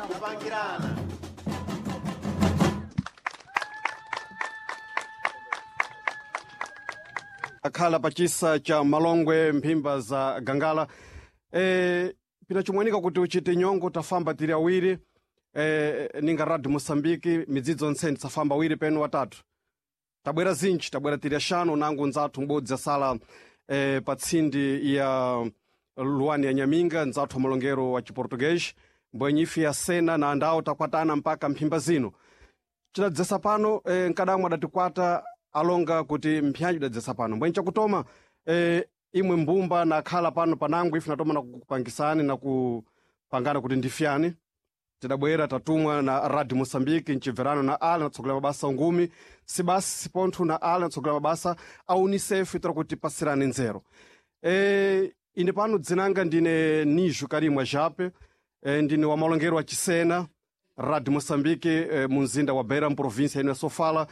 Kupangirana. Akhala pachisa cha Malongwe, mphimba za Gangala. Pinachimwanika kuti uchite nyongo tafamba tiri awiri, ninga Radio Moçambique midzidzo ntsene tisafamba awiri penu watatu. Tabwera zinji, tabwera tiri axanu nangu ndzathu m'bodzi asala pa tsindi ya Luwani ya Nyaminga, ndzathu wa malongero wa Chiportuguês, mbwenye ife ya Sena na andawo takwatana mpaka mphimba zino. Tidadzesa pano, nkadamwe adatikwata alonga kuti mpyanji idadzesa pano. Mbwenye chakutoma, imwe mbumba nakhala pano panango ife natoma nakupangisani nakupangana kuti ndifyani. Tidabwera tatumwa na Radio Moçambique mchibverano na ala natsogolera mabasa ungumi sibasi sipontho na ala natsogolera mabasa a UNICEF itira kuti pasirani nzero. Ine pano dzinanga ndine Nijo Karimwa Jape, ndine wa malongero wa Chisena Radio Moçambique, munzinda wa Beira mprovinsia ino ya Sofala.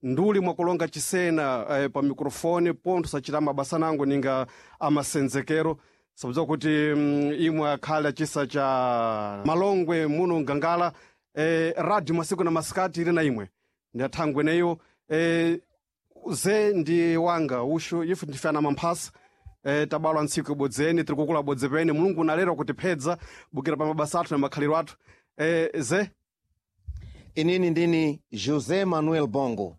Nduli mwakulonga Chisena, pa microfone pontho sachita mabasa nango ninga amasenzekero sabudza kuti imwe akhale achisa cha Malongwe muno Ngangala, radio masiku na masikati ili na imwe ndiathangwe neyo. Ze ndi wanga ushu ife ndifana mamphasa, tabalwa ntsiku ibodzeni tiri kukula bodze pene Mulungu unalera kutiphedza bukira pa mabasa athu na makhaliro athu. Ze Inini ndini José Manuel Bongo,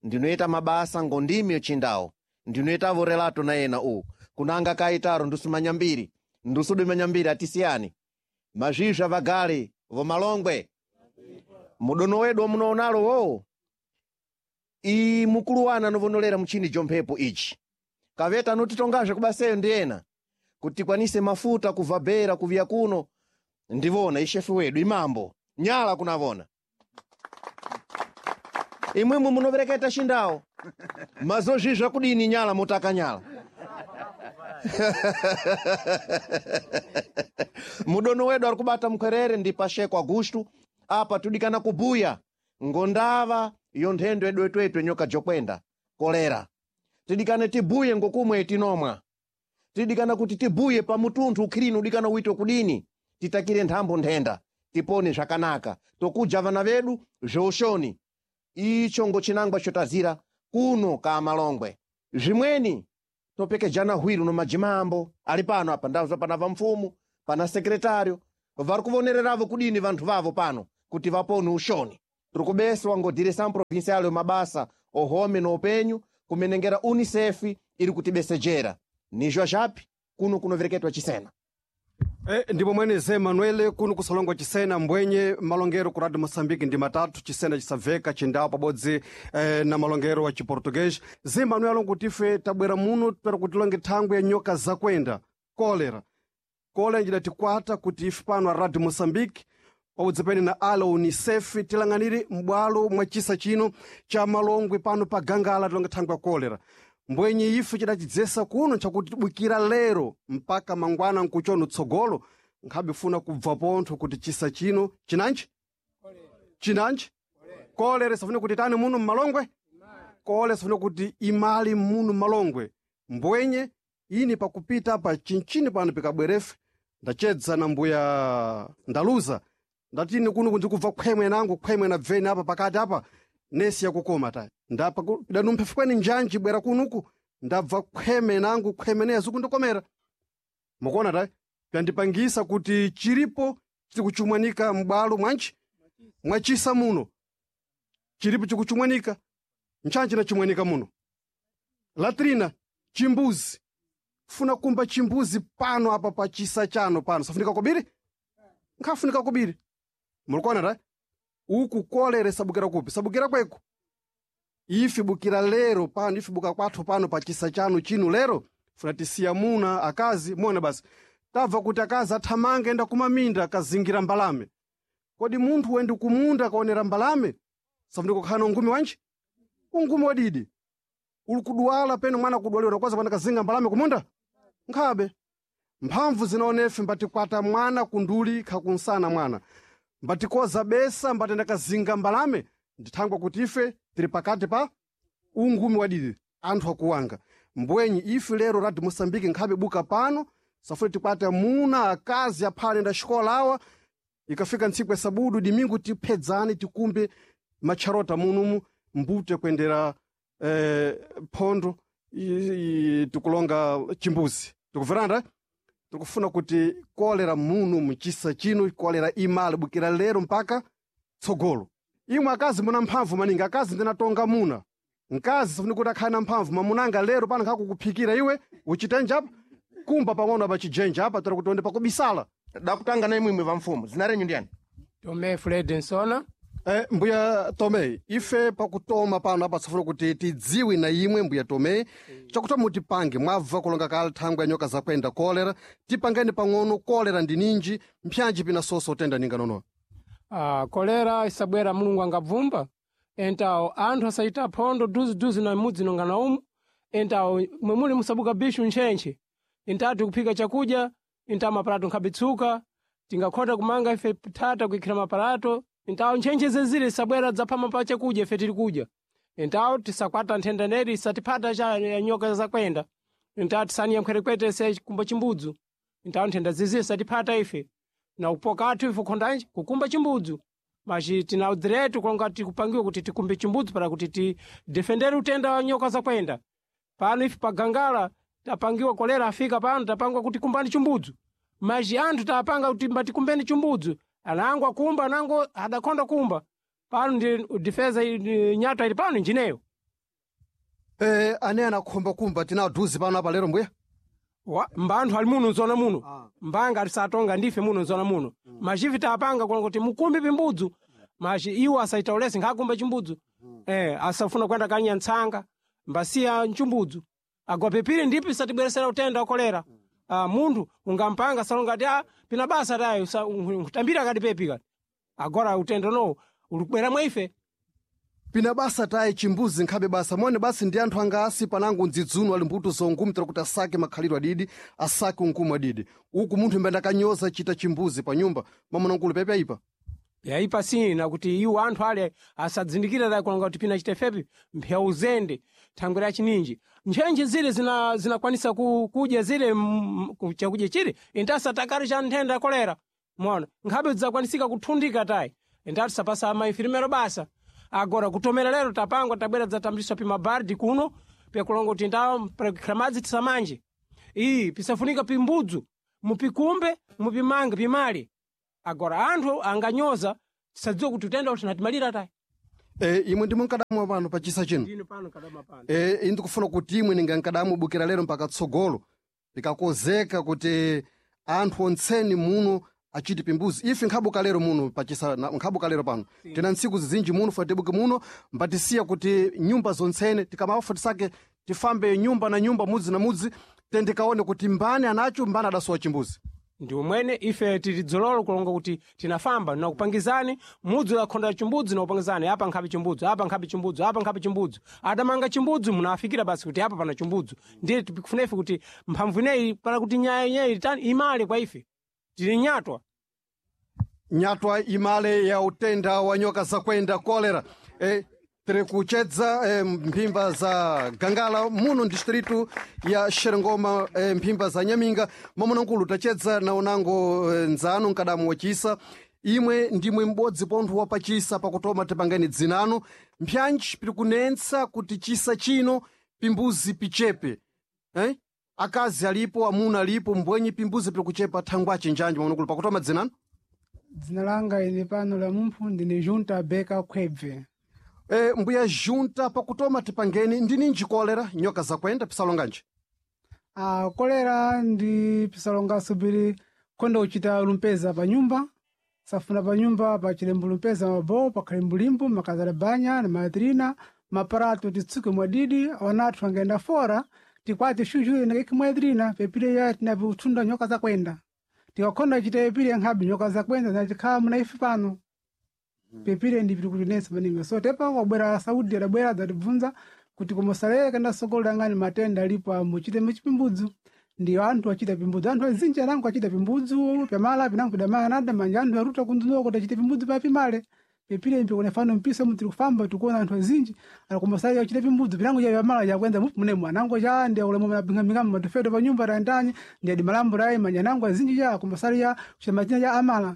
ndinoita mabasa ngondimi yochindao, ndinoitavo relato na ena u kunanga kaitaro ndusumanya mbiri ndusudimanya mbiri atisiyani mazvizva vagale vomalongwe mudono wedu wamunoonalo wowo iyi mukulu wana anovonolera muchini jomphepo ichi kaveta anotitongazve kubaseyo ndi ena kuti tikwanise mafuta kubva Beira kuviya kuno ndivona ishefu wedu imambo nyala kunavona imwimwe munovereketa xindawo mazozvizva kudini nyala mutaka nyala mudono wedu ari kubata mukwerere ndi Pacheco Augusto. Apa tudikana kubuya ngondava yo nthendo yedu etwetwe nyoka jokwenda kolera. Tidikane tibuye ngokumwe tinomwa, tidikana kuti tibuye pa mutunthu ukhilini udikana uitwe kudini, titakire nthambo nthenda tipone zvakanaka tokuja vana vedu zveushoni. Icho ngochinangwa chotazira kuno ka Malongwe. Zvimweni topekejana hwiru no majimambo ali pano apa ndazwa pana vamfumu pana sekretário vari kuvonereravo kudini vanthu vavo pano kuti vapone ushoni. Tiri kubeswa ngo direção provincial yo mabasa ohome no upenyu kumenengera UNICEF iri kutibesejera nizvo zvapi kuno kunovereketwa Chisena. Ndipo mwene Ze Manuel kuno kusalongwa Chisena mbwenye malongero ku Radio Moçambique ndi matatu Chisena chisabveka Chindawo pabodzi, na malongero wa Chiportuguês. Ze Manuel alongo ife tabwera muno tupera kuti tilonge thangwe ya nyoka zakwenda kolera. Kolera njidatikwata kuti ife pano a Radio Moçambique pabodzi pene na ala UNICEF tilang'anire m'bwalo mwa chisa chino cha Malongwe pano pa Gangala tilonge thangwe ya kolera. Mbwenye ife chidachidzesa kuno nchakuti tibukira lero mpaka mangwana nkuchono tsogolo nkhabe funa kubva pontho kuti chisa chino chinanji chinanji kolera isafune kuti tani muno mmalongwe kolera isafune kuti imali muno mmalongwe. Mbwenye ini pakupita pa chinchini pano pikabwerefe ndachedza na mbuya ndaluza ndatini kuno kundikubva khwemwe nangu khwemwe na bveni apa pakati apa nesi yakukoma tayi ndapa danumphefu njanji bwera kunuku ndabva khweme nangu khweme nezo kundikomera mukuona tayi pyandipangisa kuti chiripo chikuchumwanika m'bwalo mwanji mwachisa muno chiripo chikuchumwanika nchanji nachimwanika muno latrina chimbuzi funa kumba chimbuzi pano apa pa chisa chano pano safunika kobiri nkhafunika kobiri mulikuona tayi uku kolera isabukira kupi sabukira kweku ife bukira lero pano ife buka kwathu pano pa chisa chanu chino lero funa tisiya muna akazi mona basi tabva kuti akazi athamanga enda kumaminda akazingira mbalame. Kodi munthu wendi kumunda akaonera mbalame safunika kukhala na ungumi wanji ungumi wadidi uli kudwala peno mwana kudwaliwa nakwaza pana kazinga mbalame kumunda nkhabe mphamvu zinaonefe mbatikwata mwana kunduli khakunsana mwana mbatikoza besa mbatenda kazinga mbalame ndithangwa kuti ife tiri pakati pa ungumi wadidi anthu akuwanga. Mbwenyi ife lero Radio Moçambique nkhabe buka pano safuna tikwate amuna akazi aphale nda xikola awa. Ikafika ntsiku ya sabudu dimingu tiphedzane tikumbe matcharota munumu mbute kuendera phondo tikulonga chimbuzi. Tikuveranda? Tikufuna kuti kolera muno mchisa chino kolera imale bukira lero mpaka tsogolo. Imwe akazi muna mphamvu maningi, akazi ndinatonga muna. Mkazi sifuni kuti akhale na mphamvu, mamunanga lero pano nkhakukhuphikira iwe uchitenja apa kumba pang'ono apa chijenja apa tera kuti onde pakubisala. Dakutanga na imwimwe va mfumu zina renyu ndiyani? Tomé Fred Nsona. Mbuya Tomé, ife pakutoma pano apa tsafuna kuti tidziwe na imwe mbuya Tomé, chakutoma mutipange mwabva kulonga kale thangwi ya nyoka zakwenda kolera, tipangeni pang'ono kolera ndi ninji, mpyanji pina soso utenda ninga nonoa. Kolera isabwera Mulungu angabvumba entawo anthu asayita phondo duziduzi na mudzi nonga na umu entawo mwemuli musabuka bishu ntchentche intati kuphika chakudya intawo mapalato nkhabitsuka tingakhota kumanga ife thata kuikhira mapalato intawo ntchentche zezile isabwera dzaphama pa chakudya ife tili kudya intawo tisakwata nthenda neri isatiphata cha ya nyoka zakwenda intawo tisaniya mkhwerekwete se kumba chimbudzu intawo nthenda zizile isatiphata ife na upoka athu ife khondanji kukumba chimbudzu machi tina udiretu kulonga tikupangiwe kuti tikumbe chimbudzu para kuti tidefendere utenda wa nyoka zakwenda pano ife pagangala tapangiwa kolera afika pano tapangwa kuti kumbani chimbudzu machi anthu tapanga kuti mbatikumbeni chimbudzu anango akumba anango adakhonda kumba pano ndi difeza nyatwa ili pano njineyo. Ane anakhomba kumba tina duzi pano apa lero mbuya? Mbanthu ali muno nzona muno. Mbanga tisatonga ndife muno nzona muno. Machivi tapanga kulonga kuti mukumbe pimbudzu machi iwo asaita ulesi nkhakumba chimbudzu. Asafuna kwenda kanya ntsanga mbasiya mchimbudzu agwapepire ndipo isatibweresera utenda wa kolera. Munthu ungampanga salonga ati pina basa tayo nkutambira kati pepi kati agora utenda unowu uli kubwera mwa ife. Pina basa tayi chimbuzi nkhabe basa mone basi ndi anthu anga asi panango ndzidzuno ali mbuto zongumu tera kuti asake makhalidwe adidi asake unkumu adidi uku munthu mbenda kanyoza chita chimbuzi pa nyumba mamunangulu pepe ayipa yaipa sina kuti iwo anthu ale asadzindikira tayi kulonga kuti pina chitefepi mphewu uzende thangwi la chininji ntchentche zile zinakwanisa kudya zile chakudya chile intasatakali cha nthenda ya kolera mona nkhabe zidzakwanisika kuthundika tayi intati sapasa mainfirimero basa agora kutomera lero tapangwa tabwera dzatambiswa pimabardi kuno pyakulonga kuti ndawo prekha madzi tisamanje iyi pisafunika pimbudzu mupikumbe mupimange pimale agora anthu anganyoza tisadziwe kuti utenda kuti natimalira tayi. Imwe ndimwe nkadamwa pano pa chisa chino. Ndine pano kadama pano. Ine ndikufuna kuti imwe ninga nkadamwa bukira lero mpaka tsogolo likakozeka kuti anthu ontseni muno achiti pimbuzi ife nkhabuka lero muno pachisa nkhabuka lero pano tina ntsiku zizinji muno fa tibuke muno mbatisiya kuti nyumba zontsene tikamafa tisake tifambe nyumba na nyumba mudzi na mudzi tendikaone kuti mbani anacho mbani adasowa chimbuzi. Ndi umwene ife tili dzololo kulonga kuti tinafamba nakupangizani mudzi lakhonda chimbudzi nakupangizani apa nkhabe chimbudzu apa nkhabe chimbudzu apa nkhabe chimbudzu adamanga chimbudzu munafikira basi kuti apa pana chimbudzu ndiye tikufuna ife kuti mphamvu ineyi para kuti nyaya ineyi tani imale kwa ife tili nyatwa. Nyatwa imale ya utenda wa nyoka zakwenda kolera. Tiri kuchedza mphimba za Gangala muno distritu ya Xerengoma, mphimba za Nyaminga mamunankulu tachedza na unango nzanu nkadamu wachisa imwe ndimwe m'bodzi pontho wapachisa pakutoma tipangeni dzinano mpyanji piri kunensa kuti chisa chino pimbuzi pichepe. Akazi alipo amuna alipo mbwenyi pimbuzi piri kuchepa thangwache njanji mamunankulu pakutoma dzinano. Dzina langa ine pano la mumphu ndine Junta Beka Khwebve. Mbuya Junta pakutoma tipangeni ndininji kolera nyoka zakwenda pisalonganji? Kolera ndi pisalongaso pili khonda kuchita lumpeza pa nyumba safuna pa nyumba pa chilembo lumpeza mabowo pa khalimbulimbu makazala banya na matrina maparato titsuke mwadidi wanathu angenda fora tikwati shuju nakiki mwadrina pepile ya tinapi nyoka zakwenda tikakhonda chita pepile nkhabe nyoka zakwenda zinachikhala muna ife pano pepile ndi pili kutinensa maningi so tepa wabwera Saudi adabwera adzatibvunza kuti komosaleye kenda sokolo langani matenda alipo amuchite muchipimbudzu ndiyo anthu achita pimbudzu anthu azinji anango achita pimbudzu pyamala pinango pidamala nada manja anthu aruta kunzunuwa kuti achite pimbudzu papimale pepile mpi kunefano mpiso mutiri kufamba tikuona anthu azinji alakomosaleye achite pimbudzu pinango cha pyamala chakwenda mupu munemu anango cha ndi ulemu mapingamingamo matufeto pa nyumba tandani ndi adi malambo rayi manja anango azinji cha akomosaleye kuchita machina cha amala.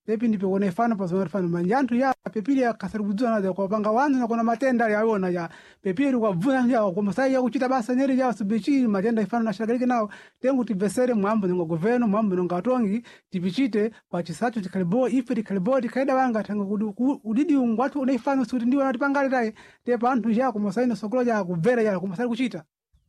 Pepi ndipo kuona ifano pazona fano manja anthu ya pepili akasari kudzua nazo kwa panga wanzu na kuna matenda ali awona ya pepili kwa bvuna ya kwa masai ya kuchita basa nyeri ya subichi matenda ifano na shagalike nawo tengu tibvesere mwambo ningo governo mwambo ningo atongi tipichite pa chisacho chikhalibo ife tikhalibo tikhaida wanga tanga udidi ungwathu une ifano suti ndiwo natipangale tayi tepa anthu ya kumasai na sokolo ya kubvera ya kumasai kuchita.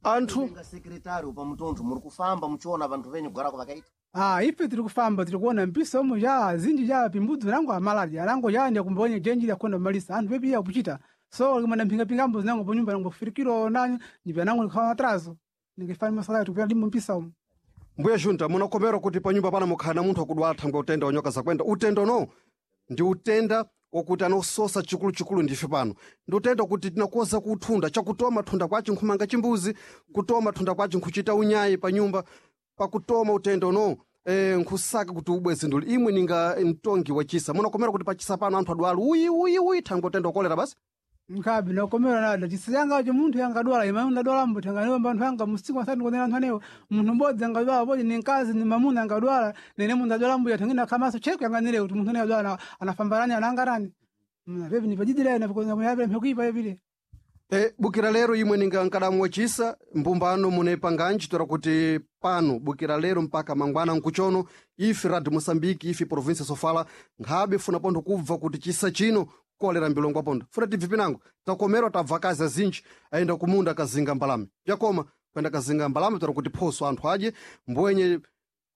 Anthu Nga sekretari pa mutunthu muri kufamba muchiona vanthu venyu kugarako vakaita. Ah, ife tiri kufamba tiri kuona mpisa omo ya zinji ya pimbudzi nango amalali alango ya ndi kumbonya jenji ya kwenda malisa anthu pepi ya kuchita so limana mpinga pinga mbuzi nango panyumba nango kufikiro nanyo ndipya nango nikhawa atrazo ningifani masala tukupya ndimo mpisa omo. Mbuya junta munakomerwa kuti panyumba pana mukhala na munthu akudwala thangwe utenda wa nyoka zakwenda. Utenda no ndi utenda wokuti anososa chikuluchikulu ndife pano ndi utenda kuti tinakoza kuthunda chakutoma thunda kwaci nkhumanga chimbuzi kutoma thunda kwaci nkhuchita unyayi pa nyumba pakutoma utenda uno nkhusaka kuti ubweze nduli imwe ninga mtongi wachisa munakomerwa kuti pachisa pano anthu adwala uyi uyi uyi thangwe utenda wakolera basi. Nkhabi nokomera nada chisiyanga cho munthu yangadwala ima ndadwala mbuti anganiwa anthu anga musiku asati kuonera anthu anewo munthu mbodzi angadwala bodzi ni mkazi ni mamuna angadwala nene munthu adwala mbuya thangina khamaso cheko yanganire kuti munthu ane adwala anafambarani anangarani pepi nipajidira napikuyapira mphekuipa pepile. Bukira lero imwe ninga nkadamu wachisa mbumbano munepanganji tora kuti pano bukira lero mpaka mangwana nkuchono ife radio Moçambique ife província Sofala nkhabe funa pontho kubva kuti chisa chino kolera mbilongo pontho funa tibve pinango takomerwa tabva kazi azinji ayenda kumunda kazinga mbalame pyakoma kwenda kazinga mbalame tora kuti phoso anthu adye mbwenye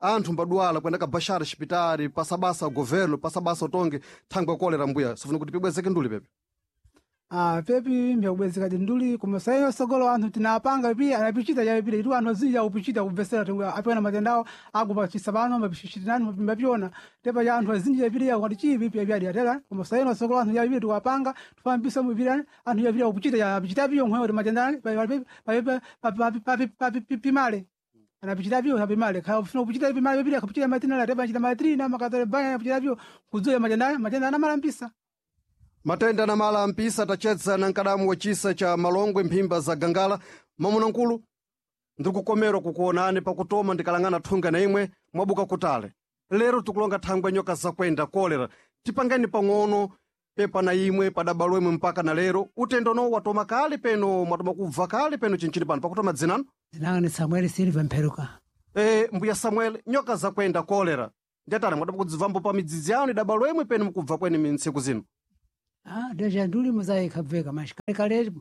anthu mbadwala kwenda kabashara xipitari pasabasa governo pasabasa utonge thangwe kolera mbuya sifuna kuti pibwezeke nduli pepe. Ah, pepi mbyakubwezeka tinduli kumasayo sogolo anthu tinapanga pipi anapichita ya pili itu anthu azinja kupichita kubvesera tingu apiona matendawo agupa chisabano mapishitinani mapimbapiona tepa ya anthu azinja ya pili ya kwati chipi pipi ya atera kumasayo sogolo anthu ya pili tukapanga tufambisa mupili anthu ya pili kupichita ya pichita piyo nkhoyo matendani papi papi papi papi pimale anapichita piyo apimale kha ufuna kupichita pimale pili akapichita matina la tepa chita matrina makatale banya kupichita piyo kudzuya matendani matenda anamalambisa. Matenda na mala ampisa tachedza na nkadamu wachisa cha Malongwe mphimba za Gangala. Mamunankulu ndikukomerwa kukuonani pakutoma ndikalangana thunga na imwe mwabuka kutale lero tikulonga thangwe nyoka zakwenda kolera tipangeni pang'ono pepa na imwe padabalo imwe mpaka na lero utendo no watoma kale peno mwatoma kubva kale peno chinchili pano pakutoma dzinano. Dzinanga ni Samuel Silva Mpheruka. Mbuya Samuel nyoka zakwenda kolera ndiatani mwatoma kudzibvambo pa midzidzi yanu idabalo imwe peno mukubva kweni mintsiku zino. Ah, deja nduli muzayi khabveka mashi kale kale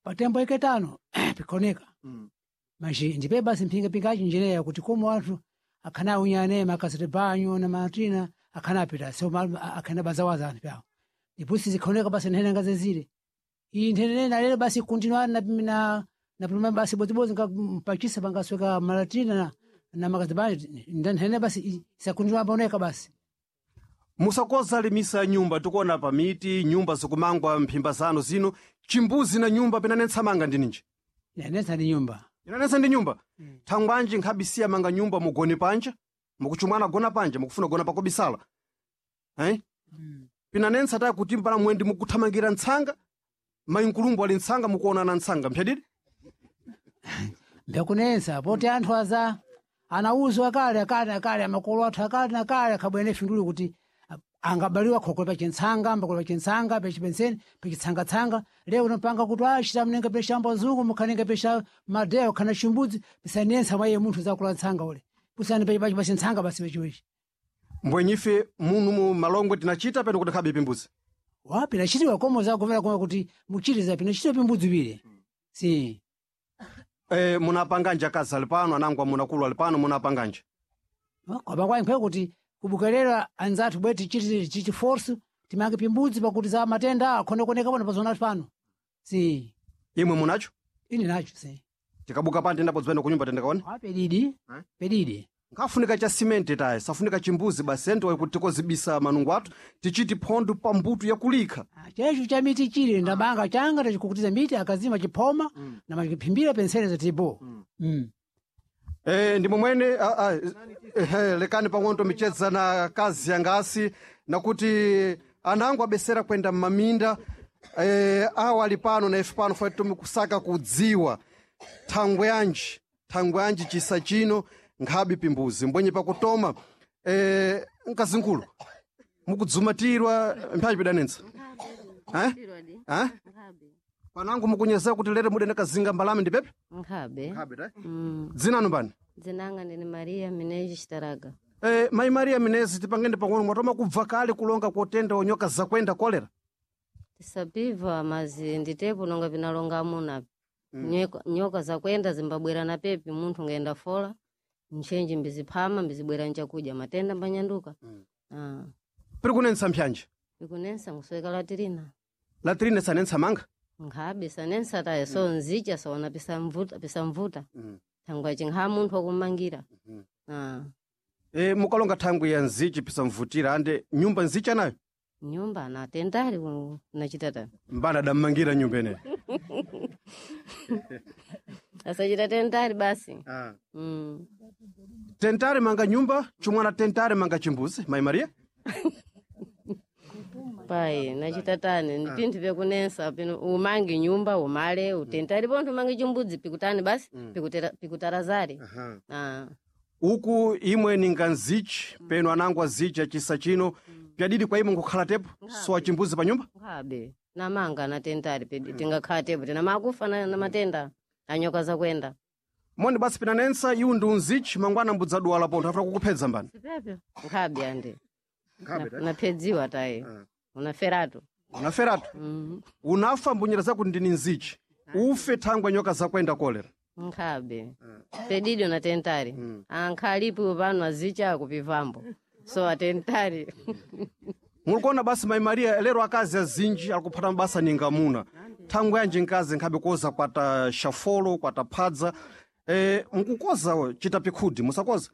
patembo iketano pikoneka. Mashi ndipe basi mpinga pingachi njireya kuti komo anthu akhana unyane makasete banyo na matina akhana apita so akhana bazawaza anthu pawo. Ndipusi zikhoneka basi nthene ngazezile. Iyi nthene nalero basi continua na na na pluma basi bozibozi mpachisa pangasweka malatina na makasete banyo nthene basi isakuntinua boneka basi. Musakoza limisa nyumba tikuona pa miti nyumba zikumangwa mphimba zanu zino chimbuzi na nyumba pinanetsa manga ndininji. Nanetsa ndi nyumba. Inanetsa ndi nyumba. Thangwanji nkhabisiya manga nyumba mugone panja mukuchumwana gona panja mukufuna gona pakobisala eh? Pinanetsa tayi kuti mpana mwendi mukuthamangira ntsanga mainkulumbu ali ntsanga mukuonana ntsanga mphyadidi. Mbyakunensa poti anthu aza anauzwa kale akale akale amakolo athu akale na kale akhabwene finduli kuti angabaliwa khokolo pachintsanga mbakolo pachintsanga pachipenseni pachitsangatsanga leo unopanga kuti achita mnenge peshambo zungu mukhanenge pesha madeyo khana chimbudzi pisanensa mwa iye munthu zakula ntsanga ule pusani pachintsanga basi wechiwechi. Mbwenyife munu mu Malongwe tinachita peno kuti khabe pimbuzi. Wa pinachitiwa komo zakumvera koma kuti muchitiza pinachitiwa pimbudzi pile si. Munapanganja akazi ali pano anangu amunakulu ali pano munapanganja. Kwapa kwa inkwe kuti kubukerera anzathu bweti chiti chichi force timange pimbudzi pakuti za matenda akhonekoneka pano pazona pano si. Imwe munacho? Ini nacho si. Tikabuka pano tendapo dzipenda kunyumba tendakaone. Wa pedidi pedidi. Nkafunika cha simenti tayi safunika chimbuzi basi ento kuti tikozibisa manungo athu tichiti phondo pa mbuto yakulikha. Chechu cha miti chili ndabanga changa tachikukutiza miti akazima chiphoma na machiphimbira pensene za tipo. Ndi momwene lekani pang'ono michedza na kazi yangasi nakuti anangu abesera kwenda mmaminda awa ali pano na ife pano fati kusaka kudziwa thangwe yanji thangwe yanji chisa chino nkhabe pimbuzi mbwenye pakutoma mkazinkulu Mukudzumatirwa mphayi pidanensa. Eh? Eh? Panangu mukunyezera kuti lero mudene kazinga mbalame ndi pepe? Nkhabe. Nkhabe ta. Mm. Dzinanu mbani? Dzinanga ndine Maria Minezi Chitaraga. Mai Maria Minezi tipangende pang'ono mwatoma kubva kale kulonga kotenda onyoka zakwenda kolera. Tisapiva mazi nditepo nonga vinalonga amuna. Nyoka zakwenda zimbabwera na pepi munthu ngaenda fola. Nchenji mbiziphama mbizibwera nchakudya matenda mbanyanduka. Ah. Piri kunensa mphyanje. Ikunensa nkusweka latirina. Latrine sanensa manga. Nkhabe sanensa taye so nzicha soona pisamvuta pisamvuta. Thangwa chinkha munthu wakumangira. Ah. Mukalonga thangwi ya nzichi pisamvutira ande nyumba nzicha nayo. Nyumba natendali nachita tani. Mbana adammangira nyumba ineyi. Asachita tendali basi. Ah. Mm. Tentare manga nyumba, chumwana tentare manga chimbuzi, Mai Maria. Pai, nachitatani ni pinthu vyakunensa pino umange nyumba umale utentali pontho umange chimbudzi pikutani basi pikutarazari. Ah. Uku imwe ninga nzichi, peno anangu azichi achisa chino, pyadidi kwa imwe nkukhala tepo, so achimbuzi pa nyumba. Nkhabe namanga natentali pedi tingakhala tepo tina makufa na matenda anyoka zakwenda. Moni basi pinanensa iwu ndi unzichi mangwana mbudzaduwala pontho afuna kukuphedza mbani. Sipepyo nkhabe ande naphedziwa tayi unaferatu. Unaferatu. Unafa mbunyera zakuti ndini nzichi. Ufe thangwe nyoka zakwenda kolera. Nkhabe pedido na tentali ankhalipo pano azicha kupivambo so atentali. Mulikuona basi Mai Maria lero akazi azinji alikuphata mabasa ninga muna. Thangwe yanji nkazi nkhabe koza kwata shafolo, kwata phadza. Mkukoza chita pikhudi musakoza.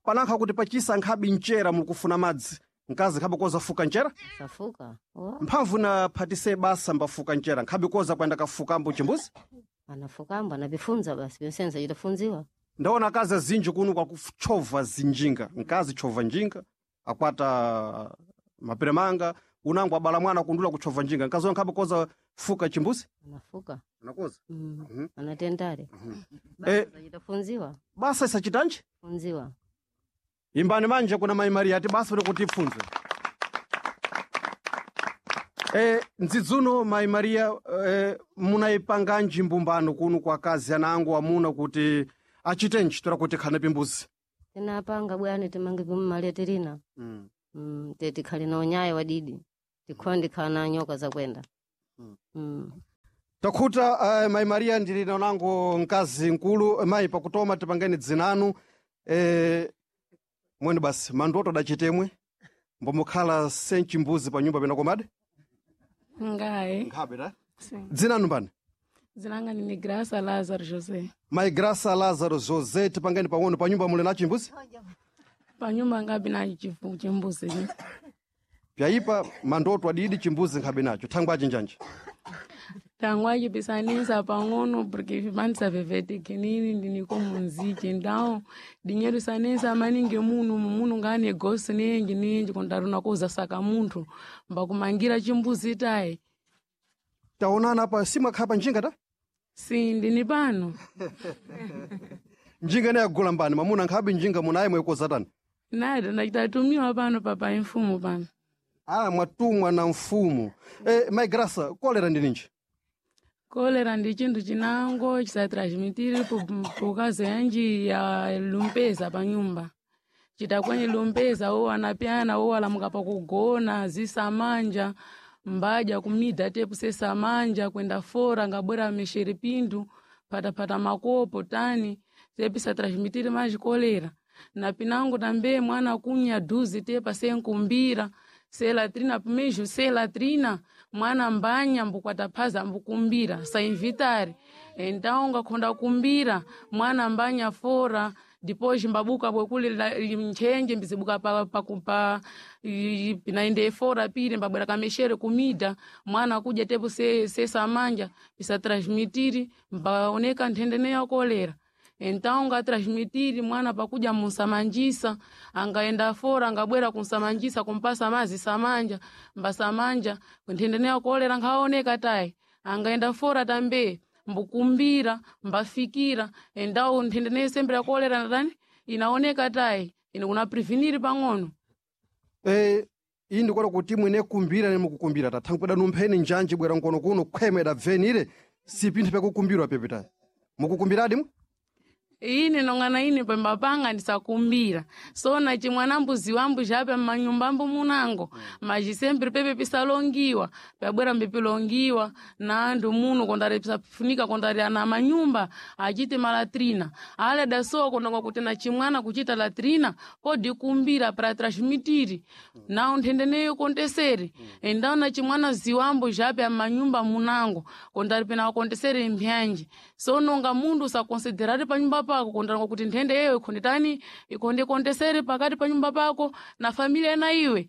Panankha kuti pachisa nkhabi mchera mukufuna madzi. Nkazi nkhabe koza fuka mchera. Safuka. Oh. Mphamvu na phatise basa mbafuka mchera nkhabe koza kwenda kafukambo chimbuzi. Anafukambo anapifunza basi pinsenza chitafunziwa. Ndaona akazi azinji kuno kwakuchova zinjinga. Nkazi chova njinga akwata mapere manga unangu abala mwana kundula kuchova njinga. Nkazi nkhabe koza fuka chimbuzi. Anafuka. Anakoza. Mm. Anatendare. Basa chitafunziwa. Basa isachitanji? Funziwa. Imbani manje kuna Mai Maria ati basa kuti kuti ndzidzuno Mai Maria munayipanganji mbumbano kuno kwa akazi anangu amuna kuti achitenji tora kuti khane pimbuzi. Tinapanga bwani timange pimumaletirina. Te tikhali na unyayo wadidi. Tikhondi khala na nyoka zakwenda. Takhuta Mai Maria ndili nanango mkazi mkulu mayi pakutoma tipangeni dzinanu mwene basi mandoto adachitemwe mbomukhala senchimbuzi pa nyumba pena komade Ngai. nkhabe ta Sim. dzinanu mbani? Dzinanga ndine Graça Lázaro José. Mai Graça Lázaro José tipangeni pang'ono pa nyumba muli na chimbuzi? Panyumba ngabi na chimbuzi. Pyayipa mandoto adidi chimbuzi nkhabe nacho thangwaji njanje. Tangwa chipisanisa pang'ono porque vipandisa vevetekenini ndiniko munziki então dinheiro sanesa maningi munu munu nga negosi nenji nenji kondaruna kuzasaka munthu mbakumangira chimbuzi tayi. Taonana apa simwakhala pa njinga ta? Si ndini pano. Njinga ine yagula mbani mamuna nkhabe njinga munaye mwekoza tani. Nada ndachitatumiwa pano papai mfumu pano. Ah, mwatumwa na mfumu. Mai Graça, kolera ndi ninji? Kolera ndi chinthu chinango chisatransmitire pokazi yanji ya lumpeza pa nyumba chitakwenye lumpeza wo anapyana wo alamuka pakugona zisamanja mbadya kumida tepu sesamanja kwenda fora ngabwera meshere pindu patapata makopo tani tepu transmitire maji kolera na pinango tambe mwana kunya duzi tepa senkumbira selatrina pimejo selatrina mwana mbanya mbukwataphaza mbukumbira sainvitari então ngakhonda kumbira mwana mbanya fora depois mbabuka bwekule nchenje mbizibuka pa pinaende fora pire mbabwera kameshere kumida mwana kuja tepo sesamanja pisatransmitiri mbaoneka nthende ya kolera. Então ngatransmitiri mwana pakuja munsamanjisa angaenda fora angabwera kunsamanjisa kumpasa mazi samanja mbasamanja nthende ya kolera nkhaoneka tayi angaenda fora tambe mbukumbira mbafikira endawo nthende sembe ya kolera natani inaoneka tayi ine kuna prevenir pang'ono. Iyi ndikuona kuti mwene kumbira nemukukumbira tathangweda numpheni njanji bwera nkono kuno khwema idabvenire si pinthu pyakukumbirwa pepitayi mukukumbiradi mu Ine nong'ana ine pembapanga ndisakumbira sona chimwana mbuzi wambu chape mmanyumba munango maji sempri pepe pisalongiwa pyabwera mbipilongiwa na andu muno kondari pisafunika kondari ana manyumba achite malatrina ale dasowa kondonga kuti na chimwana kuchita latrina podi kumbira pra transmitiri nao nthendeneyo kontesere endao na chimwana ziwambo chape amanyumba munango kondari pena wakontesere mbyanji so nonga mundu usakonsiderari panyumba pako kondaronga kuti nthende yeyo ikhondetani ikhonde kontesere pakati pa nyumba pako na familia na iwe.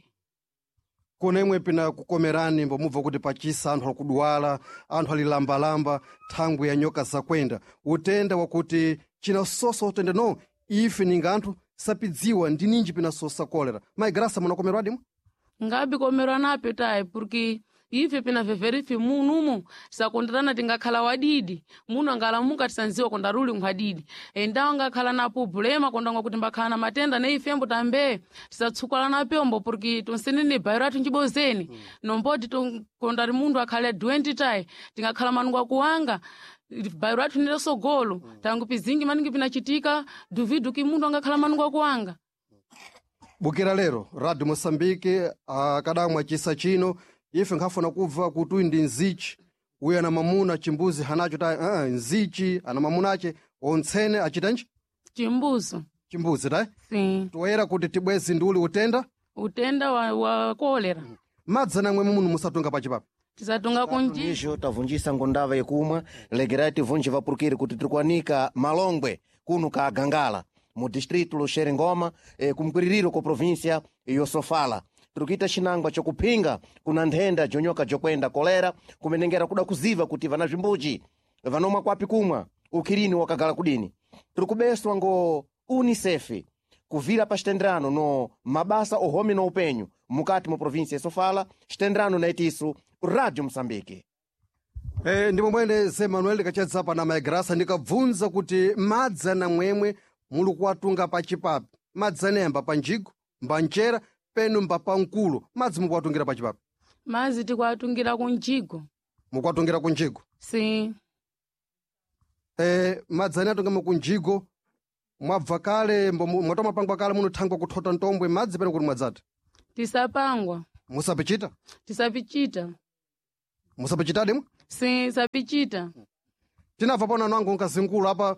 Kuna imwe pina kukomerani mbomubva kuti pachisa anthu akudwala, anthu alilambalamba thangwi ya nyoka zakwenda, utenda wakuti chinasosa utenda no ife ninga anthu sapidziwa ndi ninji pinasosa kolera. Mayi Grasa, munakomerwadi mwe? Ngabi komerwa nape tayi, porque ife pina veverifi munumu tisakonderana, tingakhala wadidi muno angalamuka tisanziwa kondaruli nkhwadidi endawo angakhala na problema kondanga kuti mbakhala na matenda ne ifembo tambe tisatsukala na pyombo, porque tonsenene bairo athu njibozeni nomboti kondari mundu akhale doente tayi tingakhala manungo akuwanga bairo athu nile sogolo tangu pizingi maningi pinachitika duvidu ki mundu angakhala manungo akuwanga. Bukira lero Radio Moçambique akadamwa chisa chino ife nkhafuna kubva kuti uyu ndi nzichi, uyu ana mamuna chimbuzi hanacho ta nzichi ana mamuna ache ontsene achitanji chimbuzo. Chimbuzi tayi. Sim. Toyera kuti tibwezi ndi uli utenda. Utenda wa kolera. Madzi anamwe muno musatunga pachipapi? Tisatunga kunji. Izvo tavunjisa ngondava yekumwa, legerai tivunje vapurukiri kuti tiri kuwanika Malongwe kuno ka Gangala mu distrito lo Xerengoma kumkwiririro ko província yo Sofala. Tiri kuita xinangwa cokuphinga kuna nthenda jonyoka jokwenda kolera, kumenengera kuda kuziva kuti vana zvimbuji vanomwa kwapi kumwa ukhirini wakagala kudini. Tiri kubeswa ngo UNICEF kuvira pa xitenderano no mabasa ohome no upenyu mukati mu província ya Sofala, xitenderano na itisu Radio Moçambique. Ndipo mwene Ze Manuel ndikachedza pana Mayi Grasa ndikabvunza kuti madzi anamwemwe muli kuwatunga pachipapi, madzi anayamba pa njigo mbanjera penu mba pamkulo, madzi mukuwatungira pachipapi? Mazi tikuatungira kunjigo. Mukuwatungira kunjigo? Sim. Madzi ane atungamo kunjigo mwabva kale mwatomapangwa kale munothangwa kuthota ntombwe madzi pene kuti mwadzati? Tisapangwa. Musapichita? Tisapichita. Musapichitadi mwe? Sim, sapichita. Tinabva pano anango nkazingulu apa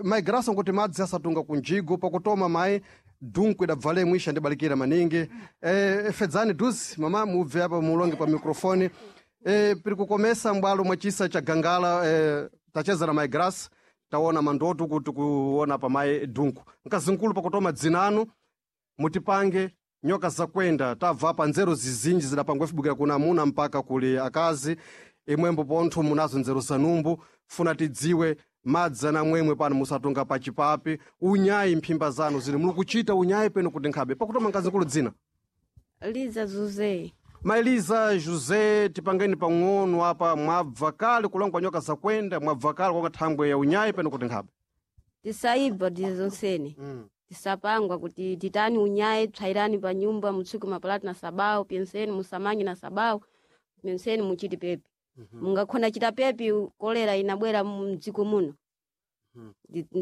Mayi Grasa nkuti madzi asatunga kunjigo pakutoma mayi dunku idabvale mwisha ndibalikira maningi. Fedzani duzi mama mubve apa mulonge pa mikrofoni. Piri kukomesa mbwalo mwa chisa cha Gangala tacheza na Mayi Grasa, taona mandoto kuti kuona pa mayi dunku nkazingulu pakutoma dzinanu mutipange nyoka zakwenda tabva pa nzeru zizinji zidapangwa ifibukira kuna amuna mpaka kuli akazi imwembo pontho munazo nzeru zanumbu funa tidziwe madzi anamwemwe pano musatunga pachipapi, unyayi mphimba zanu zili muli kuchita unyayi peno kuti nkhabe pakutoma nkazikulu dzina? Liza Zuze. Maeliza José, tipangeni pang'ono apa, mwabva kale kulangwa nyoka zakwenda, mwabva kale kwanga thangwe ya unyayi peno kuti nkhabe? Tisaibva tizonsene. Tisapangwa kuti titani unyaye, tsvairani pa nyumba, mutsuke mapalati na sabao, penseni musamanyi na sabao, penseni muchiti pepi. Mungakhona chita pepi kolera inabwera mdziko muno.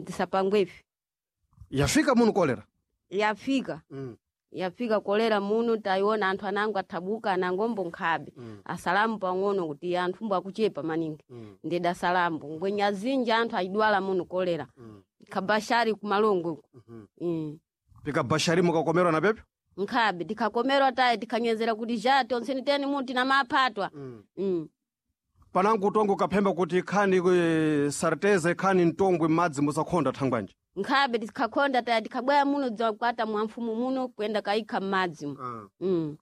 Tisapangwepi. Yafika muno kolera? Yafika. Yafika kolera muno tayiona anthu anango athabuka anangombo nkhabe. Asalamu pang'ono kuti anthu mbo akuchepa maningi. Ndeda salambu. Ngwenya azinji anthu ayidwala muno kolera. Kabashari kumalongo uko. Pikabashari mukakomerwa na pepi? Nkhabe tikhakomerwa tayi tikhanyezera kuti ja tonseni teni muti na maphatwa. Panangu utongo kaphemba kuti khani sarteza ikhani mtongwe madzi musakhonda thangwanji? Nkhabe tikhakhonda tayi tikhabwera muno dzakwata mwamfumu muno kuyenda kayikha m'madzi mu.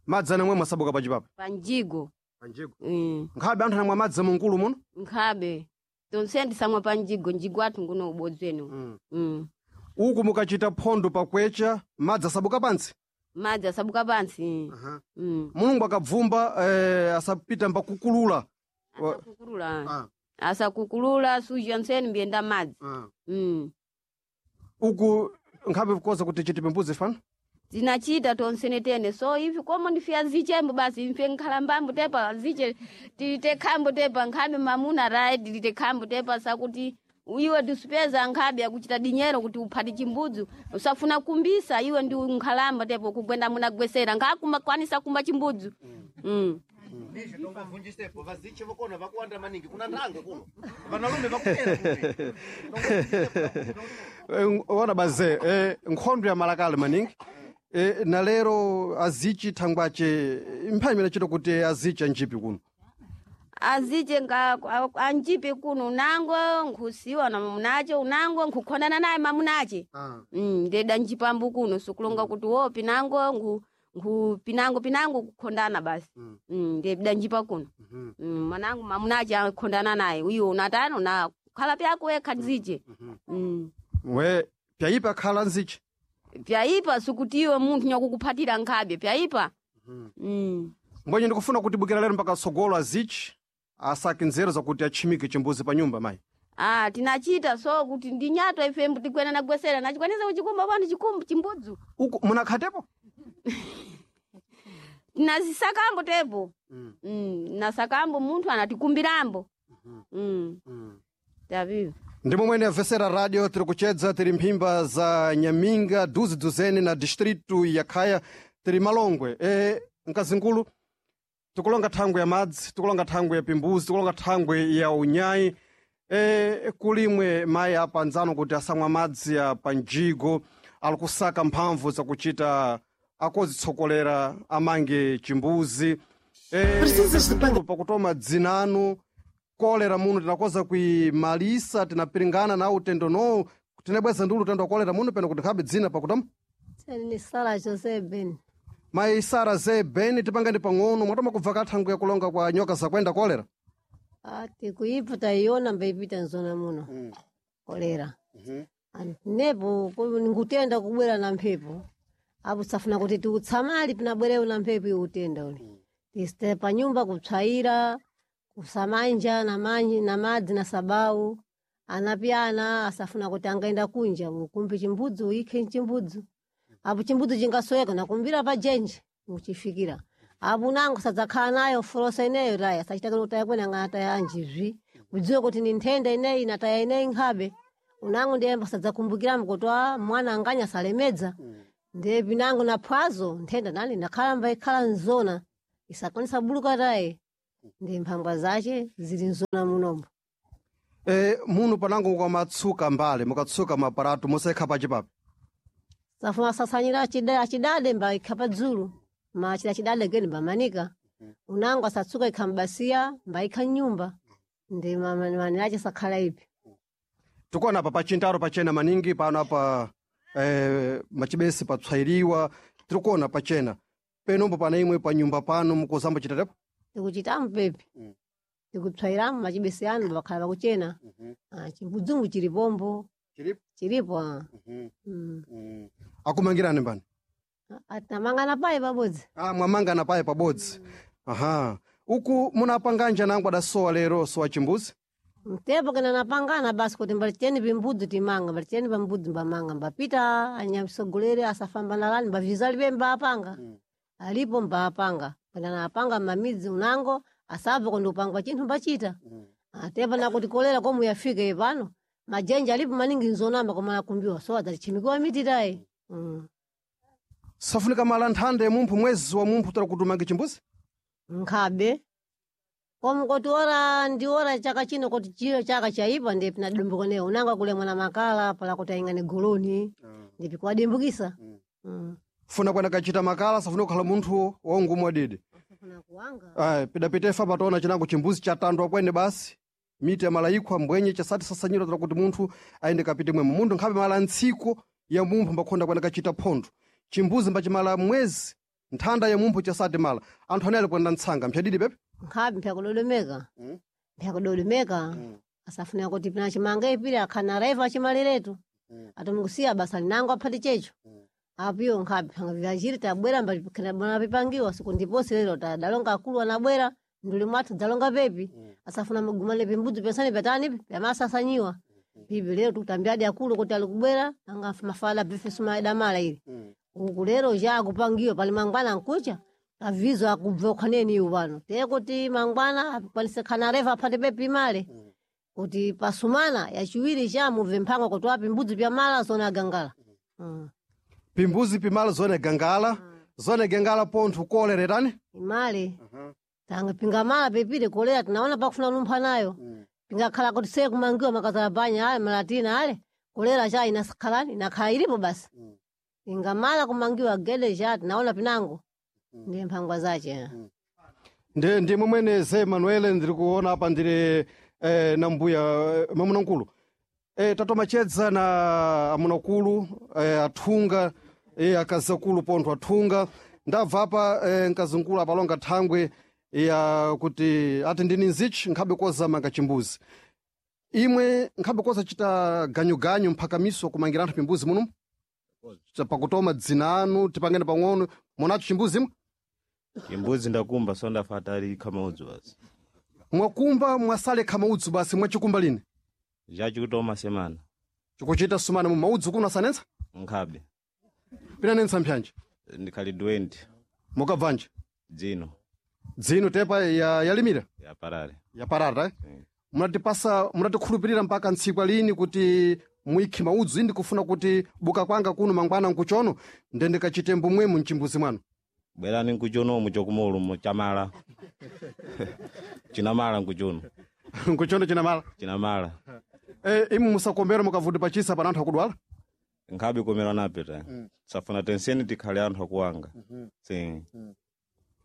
Madzi anamwe mwasabuka pachipapi? Panjigo. Panjigo. Nkhabe anthu anamwa madzi mungulu muno? Nkhabe tonseni tisamwa panjigo, njigo athu nguno ubodzweni. Uku mukachita phondo pakwecha madzi asabuka pantsi? Madzi asabuka pantsi. Mulungu akabvumba asapita mbakukulula. Asakukulula. Asakukulula suja nseni mbiyenda madzi. Uku nkhabe kukoza kuti chitipe mbuzi fano? Tinachita tonsene tene so ivi komo ndife azichembo basi mfe nkhalambambo tepa aziche tilite khambo tepa nkhabe mamuna raye tilite khambo tepa sakuti iwe tisipeza nkhabe akuchita dinyero kuti uphati chimbudzu usafuna kumbisa iwe ndi nkhalamba tepo kugwenda munagwesera nkhakumakwanisa kumba chimbudzu mm. Nisho tongavunjisepo vaziche vokona vakuwanda maningi kuna ndange kuno vanalume vakupera Ona baze nkhondo ya malakale maningi na lero azichi thangwace mphayi imene chito kuti azichi anjipi kuno aziche nga anjipe kuno unango nkhusiwa na mamunache unango nkukhonana naye mamunache ndeda njipambu kuno sikulonga kuti wo pinango nkhu nkhu pinango pinango kukhondana basi ndeda njipa kuno mwanangu mamunache akhondana naye uyo unatano na khala pyako wekha nziche we pyayipa khala nzichi pyaipa sikuti iwe munthu nyakukuphatira nkhabe pyaipa mbwenye ndikufuna kuti bukira lero mpaka tsogolo azichi asake nzeru zakuti atchimike chimbuzi pa nyumba mayi Ah, tinachita so kuti ndi nyato ife tikwena nagwesera nachikwanisa kuchikumba pano chikumbu chimbudzu uku munakhatepo tinazisakambo tepo nasakambo munthu anatikumbirambo tavivo ndi momwene amvesera radio tiri kuchedza tiri mphimba za nyaminga duzi duzene na distritu ya khaya tiri malongwe mkazingulu tikulonga thangwe ya madzi tikulonga thangwe ya pimbuzi tikulonga thangwe ya unyayi kulimwe mayi apa anzano kuti asamwa madzi ya panjigo ali kusaka mphamvu zakuchita akozitsokolera amange chimbuzi pakutoma dzinanu kolera muno tinakoza kuimalisa tinapiringana na utendo nowu tinabweza ndi ulutendo wa kolera muno peno kuti nkhabe dzina pakutoma ni Sara Jose Ben. mayi Sara ze Ben tipangani pang'ono mwatoma kubva kathango yakulonga kwa nyoka zakwenda kolera Ati kuipa taiona mbaipita nzona muno kolera nepo ngutenda kubwera na mphepo apo safuna kuti tiutsamali pinabwerewo na mphepo iwo utenda ule tisite panyumba kupsayira kusamanja na manji na madzi na sabau anapyana asafuna kuti angaenda kunja ukumbe chimbudzu uikhe mchimbudzu apo chimbudzu chingasweka nakumbira pa jenje muchifikira apo nango sadzakhala nayo folosa ineyo taya sachita kuti taya kwene angataya anjizvi kudziwe kuti ni nthenda ineyi nataya ineyi nkhabe unango ndiyemba sadzakumbukiramo kuti a mwana anganya salemedza ndiye pinango na phwazo nthenda nani nakhala mbaikhala nzona isakwanisa buluka taye ndi mphangwa zace zili nzona munombo muno panango mukamatsuka mbale mukatsuka maparato musaikha pachipapi safuna sasanyira achidade mbaikha padzulu ma chida chidade kweni mbamanika unango asatsuka ikha mbasiya mbaikha mnyumba ndi manirace sakhala ipi tikuona apa pachintaro pachena maningi pano apa machibesi papsayiriwa tirikuona pachena penombo pana imwe panyumba pano mukuzamba chitatepo tikuchitamu pepi tikupsayiramu machibesi anu bakhala pakuchena chimbudzumbu chilipombo chilipo ah. Akumangirani mbani Atinamangana paye pabodzi mwamangana paye pabodzi aha uku munapanganja nangu adasowa lero sowa chimbuzi mtepo kena napangana basi kuti mbalicheni pimbudzi timanga mbalicheni pambudzi mbamanga mbapita anyamsogolere asafamba nalani mbavizalibe mbaapanga alipo mbaapanga kena napanga mmamidzi unango asabva kundi upangwa chinthu mbachita atepo nakuti kolera komu yafika pano majenja alipo maningi nzonamba koma akumbiwa so adzachimikiwa miti tayi safunika mala nthanda ya mumphu mwezi wa mumphu tara kuti umange chimbuzi nkhabe komu kuti ora ndi ora chaka chino kuti chiyo chaka chaipa ndiye pinadumbukaneyo unanga kulemwa na makala pala kuti aingane goloni ndipi kuwadimbukisa funa kwena kachita makala safuna kukhala munthu waungumu wadidi Ayi, pidapitefa pataona chinango chimbuzi chatandwa kwene basi miti ya malayikhwa mbwenye chasati sasanyira tara kuti munthu ayende kapite mwemo munthu nkhabe mala ntsiko ya mumphu mbakhonda kwena kachita phondo chimbuzi mbachimala mwezi nthanda ya mumphu chasati mala anthu anali kwenda ntsanga mphyadidi pepe nkhabe mpyakudodomeka mpyakudodomeka asafuna kuti pina chimanga ipiri akhana raiva achimaliretu atomukusiya basa linango aphati checho apiyo nkhabe phanga vyachiri tabwera mbona pipangiwa siku ndiposi lero tadalonga akulu anabwera nduli mwathu dzalonga pepi asafuna mugumane pimbudzi pensani pyatanipi pyamasasanyiwa pipi lero tikutambiadi akulu kuti alikubwera anga mafala bifesuma idamala ili Uku lero ja akupangiwa pali mangwana nkucha avizo akubva ukhaneni iwu pano teye kuti mangwana akwanise khana refa aphate pepi male kuti pasumana yachiwiri cha mubve mphangwa kuti wapi mbudzi pyamala zona agangala. Pimbuzi pimala zone gangala, zone gangala pontho koleretani. Imale tanga pingamala pepile kolera tinaona pakufuna lumpha nayo pingakhala kuti seye kumangiwa makazala banya ale malatina ale kolera cha inakhalani inakhala ilipo basi ingamala kumangiwa gede cha tinaona pinango ndiye mphangwa zache. Ndi momwene ze Manuel ndiri kuona apa ndiri na mbuya mamunamkulu tatomachedza na amunakulu athunga akazakulu pontho athunga ndabva apa mkazinkulu apalonga thangwe ya kuti ati ndini nzichi nkhabe kozamanga chimbuzi imwe nkhabe kozachita ganyuganyu mphakamiso kumangira anthu pimbuzi muno pakutoma dzina anu tipangene pang'ono munacho chimbuzi imwe? Chimbuzi ndakumba so ndafata ali kamaudzu basi. Mwakumba mwasale khamaudzu basi mwachikumba lini? Chachikutoma semana. Chikuchita sumana mu maudzu kuno asanensa? Nkhabe. Pinanensa mphyanje? Ndikhali 20. Mukabvanje? Dzino. Dzino tepa yalimira? Yaparare. Yaparare eh? Munatipasa munatikhulupirira mpaka ntsikwa lini kuti muikhe maudzu indi kufuna kuti buka kwanga kuno mangwana nkuchono nde ndikachite mbumwemu mchimbuzi mwanu? Bwerani nkuchonomu chokumolumo chamala. Chinamala nkuchono. Nkuchono chinamala? Chinamala. Imu musakombera mukavuti pachisa pana anthu akudwala? Nkhabe komera nape ta. Safuna tenseni tikhale anthu akuwanga. Si.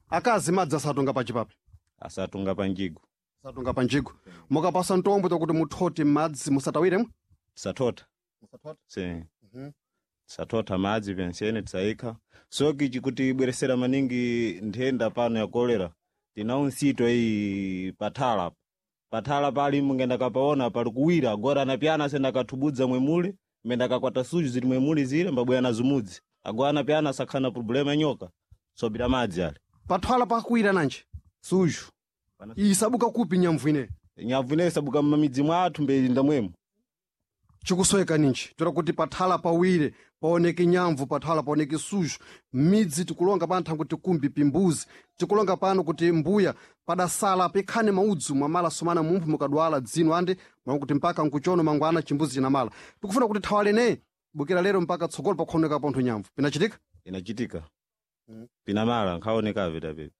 Akazi madzi asatunga pachipapi? Asatunga panjigo. Asatunga panjigo. Mukapasa ntombo takuti muthote madzi musatawiremo? Tisathotha. Si. Tisatotha madzi penseni tisayikha soki chikuti ibweresera maningi nthenda pano ya kolera tinawo nsito iyi pathala pathala pali mungenda kapaona pali kuwira agora anapyana asenda kathubudza mwemule menda kakwata suju zili mwemule zile mbabwera na zumudzi agora anapyana asakhana problema ya nyoka sobira madzi ale pathala pakuwira nanji suju isabuka kupi nyamvu ine? Nyamvu ine isabuka mmamidzi mwathu mbeyinda mwemu. Chikusweka ninji toera kuti pathala pawire paoneke nyamvu pathala paoneke suju midzi tikulonga pano thangwe tikumbi pimbuzi tikulonga pano kuti mbuya padasala pikhane maudzu mwamala sumana mumphu mukadwala dzino andi mwakuti mpaka nkuchono mangwana chimbuzi chinamala tikufuna kuti thawalene bukira lero mpaka tsogolo pakuoneka pontho nyamvu pinachitika? Inachitika. Pinamala nkhaonekabe tapepe.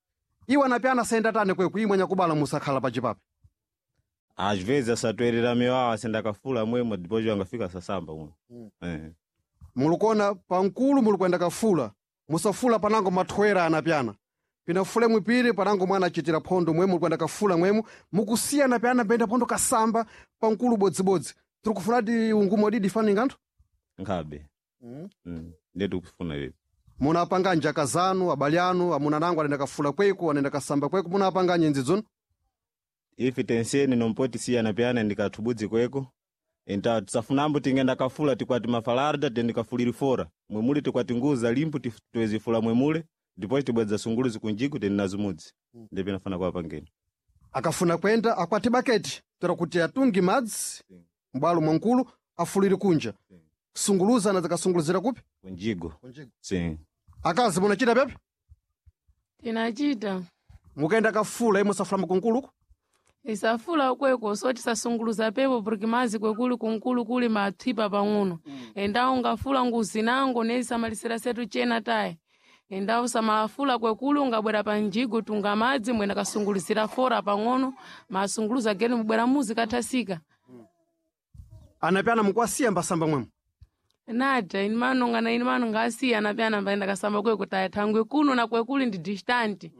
Iwo anapyana asayenda tane kweku imwe anyakubala musakhala pachipapi? Às vezes asatoerera miwawa asenda kafula mwemo depois angafika asasamba mwe. Mulikuona pankulu mulikwenda kafula musafula panango mathwera anapyana pinafule mwipiri panango mwana achitira phondo mwemu mulikwenda kafula mwemu mukusiya anapyana penda phondo kasamba pankulu bodzibodzi tiri kufunati ungumo didi faninga anthu? Nkhabe. Ndiye tikufuna ivi. Munapanga njaka zanu abale anu amuna nango anenda kafula kweku anenda kasamba kweku munapanga nyenzi dzonu? Ife tenseni nompoti siyana pyana ndikathubudzi kweko enta tisafunambo tingenda kafula tikwati mafalarda tendikafuliri fora mwemule tikwati nguza limpu tiwezifula mwemule depois tibwedza sunguluzi kunjiku tendi nazumudzi ndi pinafana kwa pangeni. Akafuna kwenda akwati baketi toera kuti atungi madzi m'bwalo mwankulu afulire kunja sunguluza ana zikasunguluzira kupi? Kunjigo. Si. Akazi munachita pepe? Tinachita. Mukaenda kafula imwe musafula mkunkuluku? Isafula kweko so tisasunguluza pepo porque mazi kwekuli kunkulu kuli mathipa pang'ono. Endawo ngafula nguzi nango nezisamalisira setu chena tayi endawo samafula kwekuli ungabwera panjigo tunga madzi mwena kasunguluzira fora pang'ono masunguluza geni mubwera muzi kathasika. Anapyana mukwasiya mbasamba mwemu? Nada ini manonga na ini manonga asiya anapyana mbaenda kasamba kweko tayi thangwe kuno na kwekuli ndi distant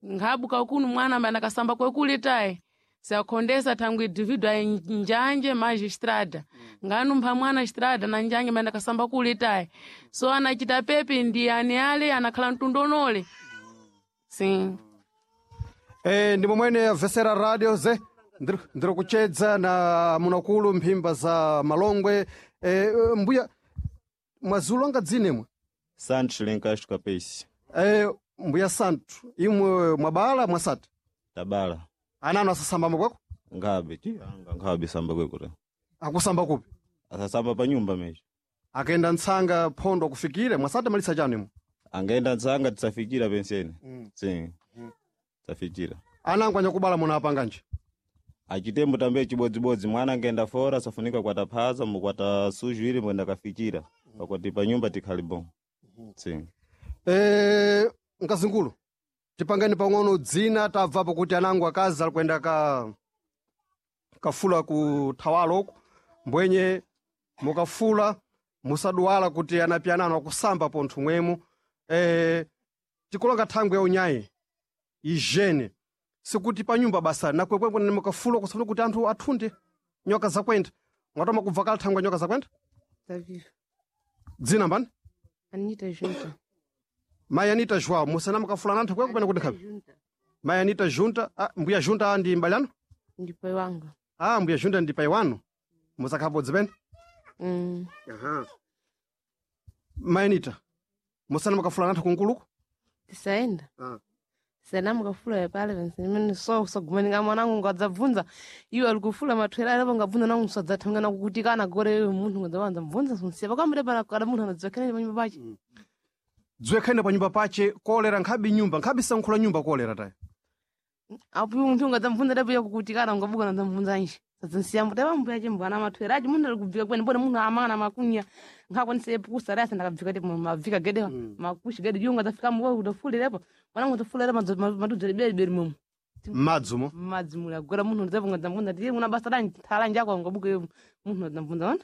nkhabuka kuno mwana mbaenda kasamba kwekuli tayi sakhondesa thangwe individual njanje maji estrada nganumpha mwana estrada na njanje mbaenda kasamba kuli tayi so anachita pepi ndi ani ale anakhala mtundonole sim. Ndi momwene avesera radio ze ndiri kuchedza na munakulu mphimba za malongwe mbuya mwazulonga dzinemwe? Santos Lencastro Capesi. Mbuya Santos imwe mwabala mwasati? Tabala. Ananu asasamba kweko? Nkhabe ti anga nkhabe samba kweko ta. Akusamba kupi? Asasamba pa nyumba mesho. Akaenda ntsanga phondo kufikire mwasati malisa chanu imwe. Angaenda ntsanga tisafikira penseni. Sim. Tisafikira. Anangu anyakubala munapanganje. Achitembo tambe chibodzibodzi mwana angaenda fora safunika kwata phaza mukwata suju ili mwenda kafikira pakuti pa nyumba tikhali bon. Sim. Mkazingulu tipangeni pang'ono dzina tabvapo kuti anangu akazi ali kuyenda kafula ku thawalo uku mbwenye mukafula musaduwala kuti anapianano akusamba pontho mwemu. Tikulonga thangwe ya unyayi ijene sikuti pa nyumba basa nakwekwe mukafula kusafuna kuti anthu athunde nyoka zakwenda mwatoma kubva kale thangwe ya nyoka zakwenda. Taviva. Dzina mbani? Anita Junta. Mai Anita João, musana mukafula nanthu kweko pene kuti nkhabe. Junta. Mai Anita Junta, mbuya Junta ndi mbali anu? Ndi pai wanga. Mbuya Junta ndi pai wanu. Musakhabodzi pene? Aha. Mai Anita, musana mukafula nanthu kunkuluku? Tisaenda. Tisana mukafula ya pale vensemene so kusagumanika mwanangu ngadzabvunza iwo ali kufula mathwera alepo ngabvunza nangu sadzathamangana kukutikana gore iwe munthu ngadzawanza mvunza sunsiya pakamire pana kada munthu anadzakhenene panyumba pache. Dziwekhene pa nyumba pache kolera nkhabe nyumba, nkhabe sankhula nyumba kolera tayi. Apo iwe munthu ngadzamvunza lepo ya kukutikana ngabuka nadzamvunza nje. Sadzansiya mbuta pambuya che mbwana mathwera achi munthu ali kubvika kwene mbone munthu amangana makunya nkhakwanise pukusa rasa ndakabvika te mabvika gede makushi gede iwo ngadzafika muwa udafulirepo mwanangu udafulira madudzere beri mumu. Madzumo. Madzi muli agora munthu ndidzapo ngadzamvunza tiye muna basa lanji thala njako ngabuka iwe munthu ngadzamvunza ona.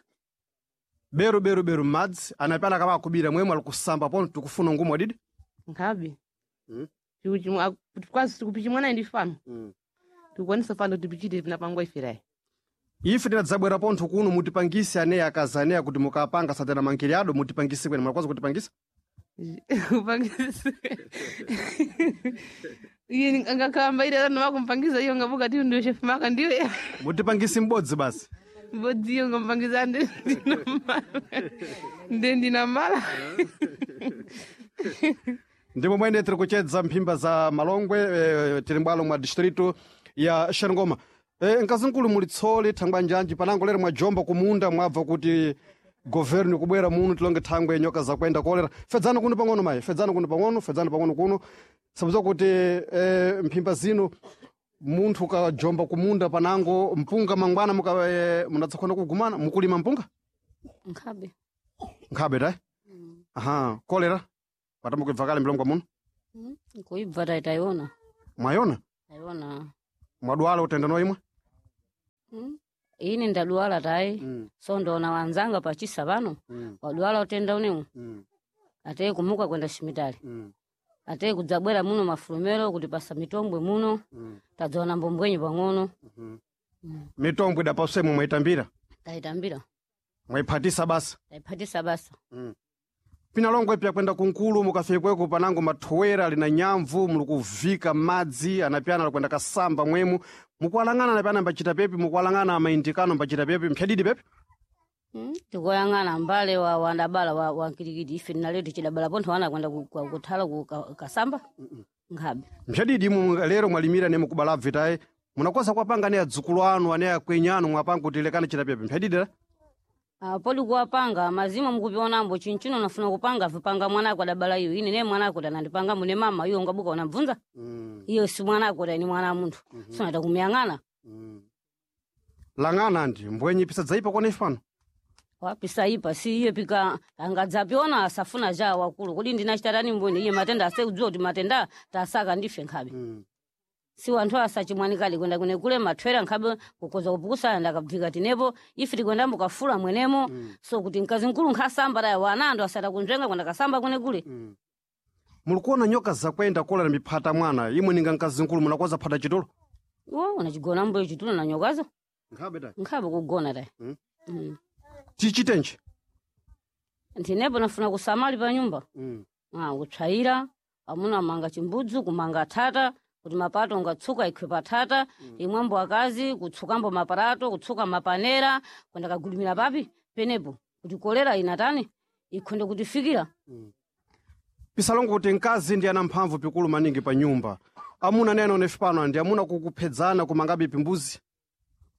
Beru beru beru madzi anapana kama akubira mwemu ali kusamba pono tikufuna ngumu adidi. Nkhabe. Kwazi tikupichi mwana ndi fano. Tikukwanisa fano tipichite pinapangwa ifirayi. Ife tinadzabwera pontho kuno mutipangise aneyi akazi aneyi kuti mukapanga satana mankiriado mutipangise kwene mwakwaza kutipangisa? Kupangisa. Iye angakamba ile ana wakumpangiza iyo ngabuka ti ndiyo chef maka ndiyo. Mutipangise m'bodzi basi. Mbodzi iyo ngampangiza ndi ndinamala. Ndi ndinamala. Ndipo mwene tiri kuchedza mphimba za Malongwe tiri mbwalo mwa distrito ya Xangoma. Mkazimkulu muli tsoli thangwa njanji panango lero mwajomba kumunda mwabva kuti governo kubwera muno tilonge thangwe nyoka zakwenda kolera. Fedzani kuno pang'ono mayi, fedzani kuno pang'ono, fedzani pang'ono kuno. Sabuza kuti mphimba zino munthu ukajomba kumunda panango mpunga mangwana muka munatsakhona kugumana mukulima mpunga? Nkhabe. Nkhabe tayi? Aha, kolera. Patamba kuibva kale mlongo muno. Kuibva tayi tayiona. Mwayona? Tayiona. Mwadwala utenda noimwe? Ine ndadwala tayi. So ndona wanzanga pachisa pano. Wadwala utenda unewu. Ateye kumuka kwenda shimitali. Ateye kudzabwera muno mafulumero kuti pasa mitombwe muno. Tadzaona mbombwenyi pang'ono. Mitombwe idapaswemo mwaitambira. Tayitambira. Mwaiphatisa basa. Tayiphatisa basa. Pinalongwe pya kwenda kunkulu mukafikweko panango mathowera lina nyamvu muli kuvika madzi anapyana alikwenda kasamba mwemu mukuwalang'ana anapyana mbachita pepi mukuwalang'ana amaindikano mbachita pepi mphyadidi pepi. Tikoyang'ana mbale wa wandabala wa nkilikiti ife tinaletu chidabala pontho wana kwenda kuthala ku kasamba nkhabe. Mphyadidi imwe lero mwalimira ne mukubala bvitayi munakosa kuwapanga ane adzukulu anu ane akwenyi anu mwapanga kuti lekani chita pepi mphyadidi la. Poli kuwapanga mazima mukupionambo chinchino nafuna kupanga vipanga mwanako adabala iyo ine ne mwanako tanandipanga mune mama iyo ngabuka unabvunza iyo si mwanako tani mwana wa munthu sonata kumuyang'ana. Lang'ana ndi mbwenyi pisadzaipa kone ife pano. Wapisaipa si iye pika angadzapiona asafuna ja wakulu kodi ndinachitatani mbweni iye matenda asekudziwa kuti matenda tasaka ndife nkhabe. Si wanthu asachimwanikali kwenda kune kule mathwera nkhabe kukoza kupukusana ndakabvika tinepo ife tikwendambo kafula mwenemo. So kuti mkazi mkulu nkhasamba taya wana andu asata kunzvenga kwenda kasamba kune kule. Mulikuona nyoka zakwenda kolera miphata mwana imwe ninga mkazi mkulu munakoza phata chitulo. Wo unachigona mboyo chitulo na nyokazo. Nkhabe tayi. Nkhabe kugona tayi. Tichitenji. Ntinepo nafuna kusamali pa nyumba. Kutsvaira amuna manga chimbudzu kumanga thata kuti mapato ungatsuka ikhwe pathata. Imwambo akazi kutsukambo maparato kutsuka mapanera kwenda kagulumira papi penepo kuti kolera inatani ikhonde kutifikira. Pisalongo kuti mkazi ndi ana mphamvu pikulu maningi pa nyumba. Amuna nene onefe pano ndi amuna kukuphedzana kumangabe pimbuzi.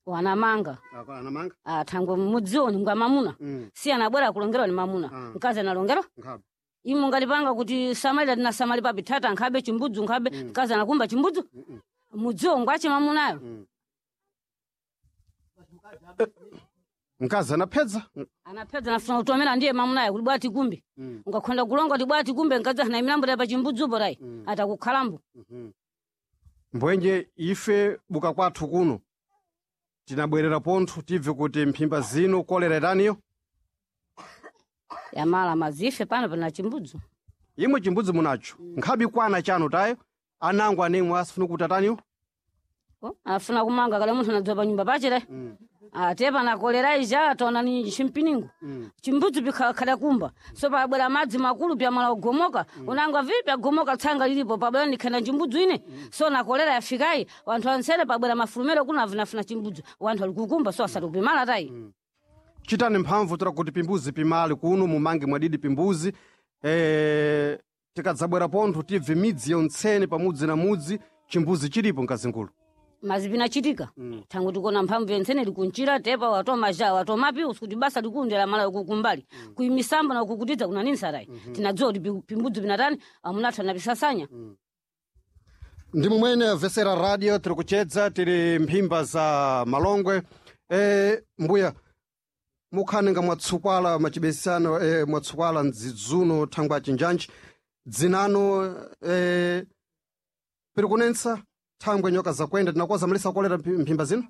Wanamanga. Anamanga. Ah, thangwe mudziwo ni ngwa mamuna. Si anabwera kulongerwa ni mamuna. Mkazi analongerwa. Nkhabe. Imu ngalipanga kuti samalira tinasamali papi tata nkhabe chimbudzu nkhabe mkazi anakumba chimbudzu. Mudziwo ngwache mamunayo. Mkazi anapedza. Anapedza nafuna kutomera ndiye mamunayo kuti bwati kumbi. Ungakhonda kulonga kuti bwati kumbe mkazi ana milambo pa chimbudzupo rai. Atakukhalambo. Mbwenje ife buka kwathu kuno tinabwerera pontho tibve kuti mphimba zino kolera itaniyo. Yamala mazife pano pana chimbudzu. Imwe chimbudzi munacho. Nkhabe kwana chanu tayo anango anemwe asifuna kuti ataniyo. Oh, afuna kumanga kale munthu anadzowa pa nyumba pachire. Ate pana kolera ija ataona ni chimpiningo. Chimbudzu pikhala kumba. So pabwera madzi makulu pyamala kugomoka. Unanga vipi agomoka tsanga lilipo pabwera ndikhenda chimbudzu ine. So na kolera yafikayi wanthu ansere pabwera mafulumero kuna avinafuna chimbudzu. Wanthu ali kukumba so asati kupimala tayi. Chitani mphamvu tira kuti pimbuzi pimali kuno mumange mwadidi pimbuzi tikadzabwera pontho tibve midzi yontsene pamudzi na mudzi chimbuzi chilipo mkazingulu. Mazi pinachitika. Thangu tikona mphamvu yentsene likunchira tepa watomaja watomapi usikuti basa likundela mala kukumbali. Kuimisambo na kukutidza kuna nini sarai. Tinadziwa kuti pimbudzu pinatani amunathu anapisasanya. Ndi mumwene vesera radio tiri kuchedza tiri mphimba za malongwe mbuya mukhanenga mwatsukwala machibesano mwatsukwala mdzidzuno thangwa chinjanji dzinano piri kunensa thangwe nyoka zakwenda tinakoza malisa kolera mphimba zino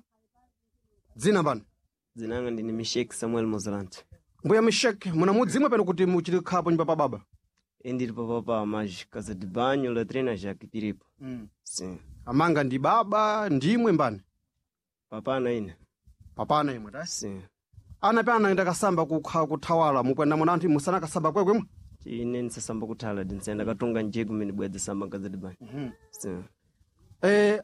dzina mbani? Dzinanga ndine Mishek Samuel Mozalante. Mbuya Mishek muna mudzimwe pano kuti muchiri khapo nyumba pa baba? Indiri papapa mas casa de banho, latrina já que tiripo. Sim. Amanga ndi baba ndimwe mbani? Papana ine. Papana imwe ta? Sim. Ana pe anaenda kasamba kukha kuthawala mukwenda muna anthu musana kasamba kwekwemwe? Ine ndisasamba kuthala ndinsenda katunga njeko mene bwedza samba casa de banho. Sim.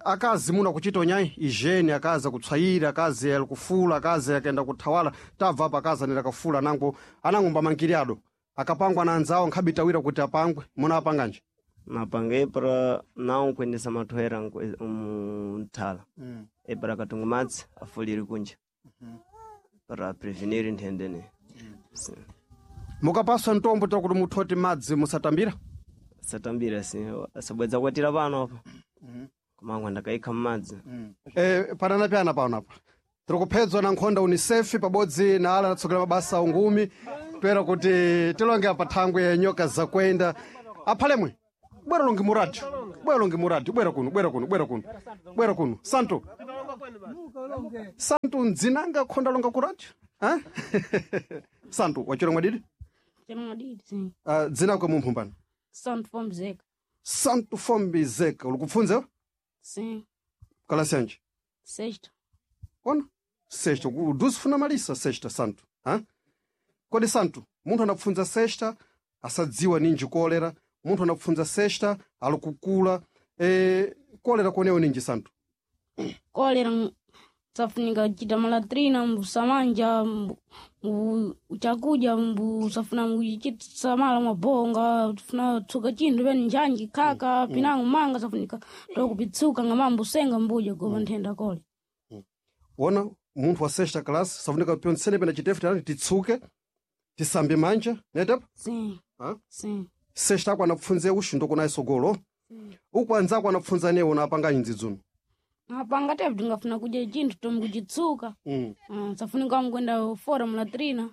Akazi muna kuchita onyayi ijeni akazi akutswayira akazi alikufula akazi akaenda kuthawala tabva apa akazi anenda kafula anango anango mbamangiri ado akapangwa na anzawo nkhabitawira kuti apangwe muna apanganji? Napanga epara não kuendesa mathoera muthala. Epara katunga madzi afulire kunja. Para prevenir nthenda Sim. Mukapaswa ntombo ta kuti muthoti madzi musatambira? Satambira sim. Asabwedza kwatira pano apa. Komangwa ndakaikha mmadzi. Panana pyana pano apa tiri kuphedzwa na nkhonda unicef pabodzi na ala anatsogolera mabasa ungumi toera kuti tilonge apa thangwe nyoka zakwenda aphalemwe bwera longe muradio bwera longe muradio bwera kuno bwera kuno bwera kuno bwera kuno santo santo ndzinanga khonda longa ku radio santo wachira mwadidi? Chemwadidi sim. Dzina kwe mumphu mbani? Santo Fombizeka. Santo Fombizeka uli kupfunza? Sim. Kalasi yanji? Sexta. Ona sexta uduzi funa malisa sexta santo ha? Kodi santo munthu anapfunza sexta asadziwa ninji kolera munthu anapfunza sexta ali kukula kolera kuonewo ninji santo? Kolera safunika kuchita malatrina mbusamanja chakudya mbusafuna mbuchisamala mabonga funa tsuka chinthu pene njanji khaka pinango manga safunika tokupitsuka ngama mbusenga mbuja gopa nthenda kole. Wona munthu wa sexta class safunika pyontsene pena chitefu tani titsuke tisambe manja netepo? Sim. Ha? Sim. Sexta ako anapfunze uxu ndokunaye sogolo uku anzako anapfunza newo napanganyi ndzidzuno? Apanga tepu tingafuna kudya chinthu tomu kuchitsuka. Safunika mkwenda fora mulatrina.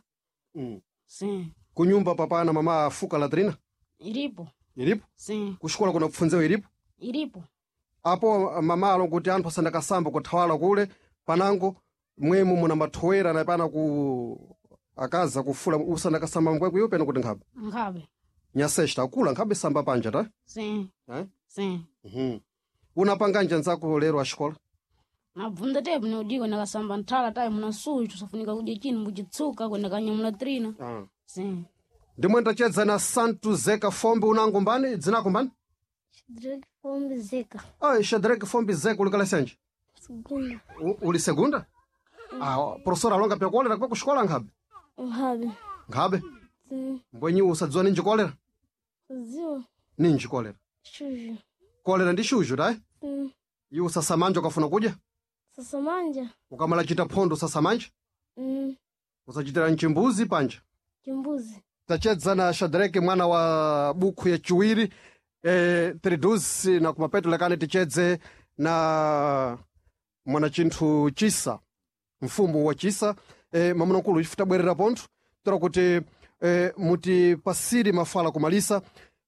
Sim. Kunyumba papana mama afuka latrina? Iripo. Iripo? Sim. Kuxikola kuna kupfunzewo iripo? Iripo. Apo mama alo kuti anthu asandakasamba kuthawala kule panango mwemu muna mathowera na pana ku akaza kufula usandakasamba mkwekwiyo pena kuti nkhabe? Nkhabe. Nyasexta akula nkhabe samba panja ta? Sim. Sim. Unapanganja nzako lero axikola? Nabvunza tepu neudiko nakasamba nthala tayi muna suchu safunika kudya chinthu mbuchitsuka kwenda kanyamula trina. Sim. Ndimwe ndachedza na Santo Zeka Fombe unango mbani dzinako mbani? Shadrack Fombe Zeka. Ah, Shadrack Fombe Zeka uli kalasi yanji? Segunda. Uli segunda? Ah, professor alonga pya kolera kwa kuxikola nkhabe? Nkhabe. Nkhabe? Sim. Mbwenyi usadziwa ninji kolera? Ziwa. Ninji kolera? Shuju. Kolera ndi shuju tayi? Sim. Iwe usasamanja ukafuna kudya? Sasamanja. Ukamala chita phondo sasamanja? Usachitira mchimbuzi panja? Chimbuzi. Tachedza na Shadrake mwana wa bukhu ya chiwiri tridusi na kumapeto lekani tichedze na mwanachinthu Chisa, mfumu wa Chisa. Mamunakulu ife tabwerera pontho tora kuti mutipasire mafala kumalisa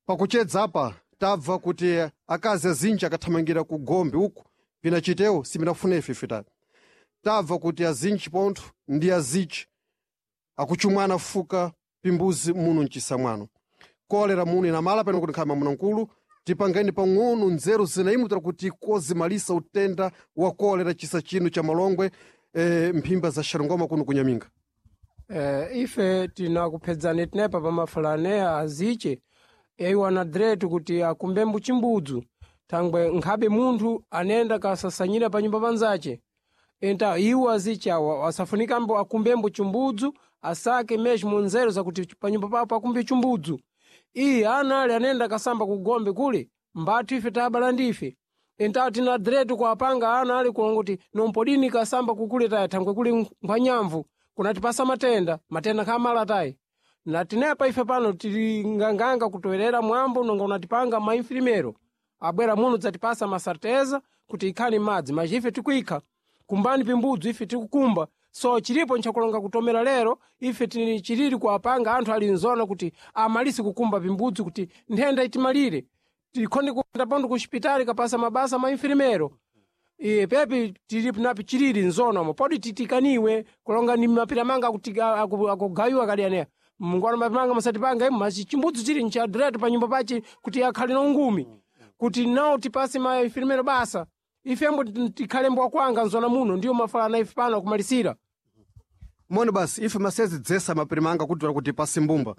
pakuchedza apa. Tabva kuti akazi azinji akathamangira ku gombe uku pinachitewo siminafuna ife ifitani. Tabva kuti azinji pontho ndi azichi akuchumwana fuka pimbuzi muno mchisa mwano. Kolera muno inamala pano kuti nkhama mamunamkulu tipangeni pang'ono nzeru zinaimutira kuti kozimalisa utenda wa kolera chisa chino cha Malongwe, mphimba za Xarungoma kuno kunyaminga. Ife tinakuphedzani tinepa pamafalaneya aziche iwo anadiretu kuti akumbembu chimbudzu thangwe nkhabe munthu anenda kasasanyira pa nyumba panzace. Enta iwo aziche awa asafunikambo akumbembo chimbudzu, asake mesmo nzeru zakuti pa nyumba papo akumbe chimbudzu. Iye ana ali anenda kasamba kugombe kule mbathu ife tabala ndife. Entawo tina diretu kuapanga ana ali kulonga kuti nompodini kasamba kukule taya thangwe kuli nkhwanyamvu kunatipasa matenda, matenda nkhamala tayi. Na tinepa ife pano tili nganganga kutowerera mwambo nonga unatipanga mainfirimero abwera muno dzatipasa masarteza kuti ikhani madzi maji ife tikuikha kumbani pimbudzu ife tikukumba. So chilipo nchakulonga kutomera lero ife tili chilili kuapanga anthu ali nzona kuti amalise kukumba pimbudzu kuti nthenda itimalire tikhonde kuenda pondo ku xipitali kapasa mabasa mainfirimero. Iye pepi tili napi chilili nzonamo podi titikaniwe kulonga ni mapira manga akugayiwa kali aneya mungwana mapira musatipanga imu machi chimbudzu chili nchadiretu pa nyumba pachi kuti akhale na ungumi kuti nawo tipase mainfirimero basa ifembo tikhale mbwa kwanga nzona muno ndiyo mafalana ife pano akumalisira. Moni basi ife masezi dzesa mapirimanga kuti kuti pasi mbumba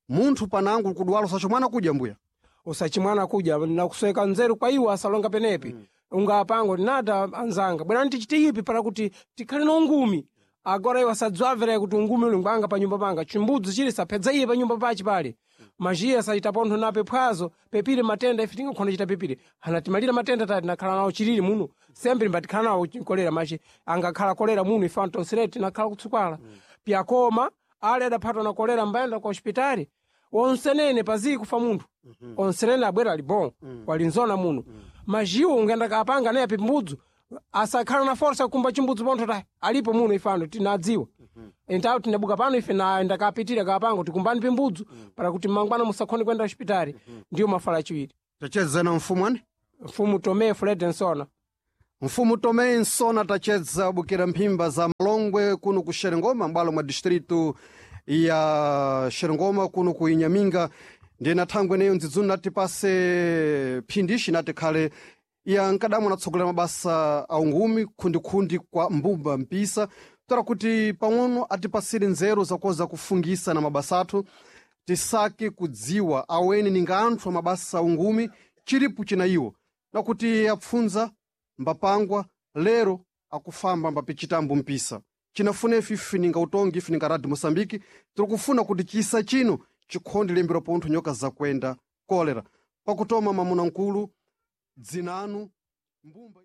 munthu panangu kudwala usachimwana kudya mbuya. Usachimwana kudya nakusweka nzeru kwa iwo asalonga penepi. Ungapango nata anzanga bwerani tichite ipi para kuti tikhale na ungumi. Agora iwo asadzwamvera kuti ungumi uli ngwanga pa nyumba panga chimbudzu chili saphedza iye pa nyumba pachi pale majiya asachita pontho nape phwazo pepire matenda ife tingakhona chita pepire anatimalira matenda tati nakhala nawo chilili muno sembe mbatikhala nawo kolera machi angakhala kolera muno ife antonsere tinakhala kutsukwala pyakoma ale adaphatwa na kolera mbayenda ku hospitali onsenene pazii kufa munthu onsenene abwera ali bon walinzona muno majiwo ungenda kapanga naye pimbudzu asakhala na forsa kukumba chimbudzu pontho tayi alipo muno ifano tinadziwa. Entawo tinabuka pano ife na ndakapitira kapanga tikumbani pimbudzu para kuti mangwana musakhone kuenda hospitali. Ndiyo mafala achiwiri. Tachedza na mfumu ani? Mfumu Tomé Fred Nsona. Mfumu Tomé Nsona tachedza bukira mphimba za Malongwe kuno ku Xerengoma m'bwalo mwa distrito ya Xerengoma kuno ku Inhaminga. Ndiye na thangwe neyo ndzidzuni natipase phindishi nati khale ya nkadamu anatsogolera mabasa a ungumi khundikhundi kwa mbumba mpisa tora kuti pang'ono atipasire nzeru zakoza kufungisa na mabasa athu tisake kudziwa aweni ninga anthu a mabasa a ungumi chilipo china iwo nakuti apfunza mbapangwa lero akufamba mbapichitambo mpisa chinafuna ife ife ninga utongi ife ninga radio Moçambique tiri kufuna kuti chisa chino chikhonde lembera pontho nyoka zakwenda kolera pakutoma mamuna nkulu dzinanu mbumba.